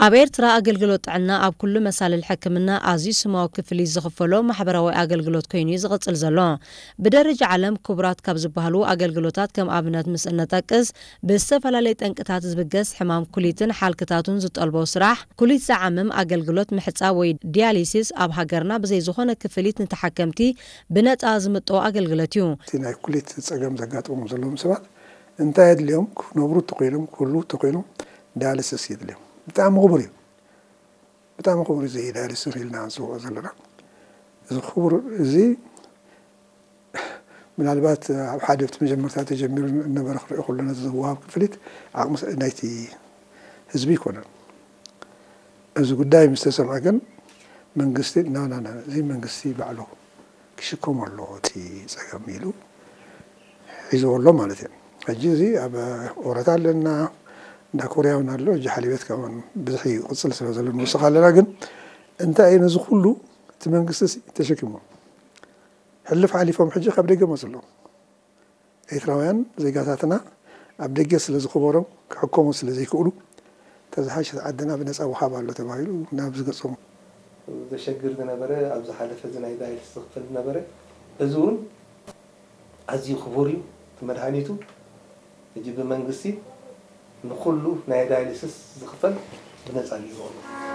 ኣብ ኤርትራ ኣገልግሎት ጥዕና ኣብ ኩሉ መሳልል ሕክምና ኣዝዩ ስማዊ ክፍሊት ዝኽፈሎ ማሕበራዊ ኣገልግሎት ኮይኑ እዩ ዝቕጽል ዘሎ። ብደረጃ ዓለም ክቡራት ካብ ዝበሃሉ ኣገልግሎታት ከም ኣብነት ምስ እነጠቅስ፣ ብዝተፈላለየ ጠንቅታት ዝብገስ ሕማም ኩሊትን ሓልክታቱን ዝጠልቦ ስራሕ፣ ኩሊት ዝዓምም ኣገልግሎት ምሕጻብ ወይ ዲያሊሲስ ኣብ ሃገርና ብዘይ ዝኾነ ክፍሊት ንተሓከምቲ ብነጻ ዝምጠዎ ኣገልግሎት እዩ። እቲ ናይ ኩሊት ጸገም ዘጋጥሞም ዘለዎም ሰባት እንታይ የድልዮም ክነብሩ ተኾይኖም ክህልዉ ተኾይኖም ዳያሊሲስ የድልዮም። ብጣዕሚ ክቡር እዩ። ብጣዕሚ ክቡር እዚ ዳያሊሲስ ኢልና ንፅውዖ ዘለና። እዚ ክቡር እዚ ምናልባት ኣብ ሓደ ኣብቲ መጀመርታ ተጀሚሩ ነበረ ክርኢ ከሎ ነቲ ዝወሃብ ክፍሊት ዓቕሚ ናይቲ ህዝቢ ኣይኮነን። እዚ ጉዳይ ምስ ተሰምዐ ግን መንግስቲ ናናና እዚ መንግስቲ ባዕሉ ክሽከሞ ኣለዎ እቲ ፀገም ኢሉ ሒዝዎ ኣሎ ማለት እዩ። ሕጂ እዚ ኣብ ኦረታ ኣለና፣ እንዳ ኮርያ እውን ኣሎ። ሕጂ ሓሊበት ካብን ብዝሒ ይቕፅል ስለ ዘሎ ንውስኽ ኣለና። ግን እንታይ እዩ ነዚ ኩሉ እቲ መንግስቲ ተሸኪሞ ሕልፍ ሓሊፎም ሕጂ ካብ ደገ መፅሎም ኤርትራውያን ዜጋታትና ኣብ ደገ ስለ ዝኽበሮም ክሕከሙ ስለ ዘይክእሉ ተዝሓሸት ዓድና ብነፃ ወሃብ ኣሎ ተባሂሉ ናብ ዝገጾም ዘሸግር ዝነበረ ኣብ ዝሓለፈ እዚ ናይ ዳይልስ ዝኽፈል ዝነበረ እዚ እውን ኣዝዩ ክቡር እዩ። እቲ መድሃኒቱ ሕጂ ብመንግስቲ ንኩሉ ናይ ዳይልስስ ዝኽፈል ብነፃ እዩ ዝኸውን።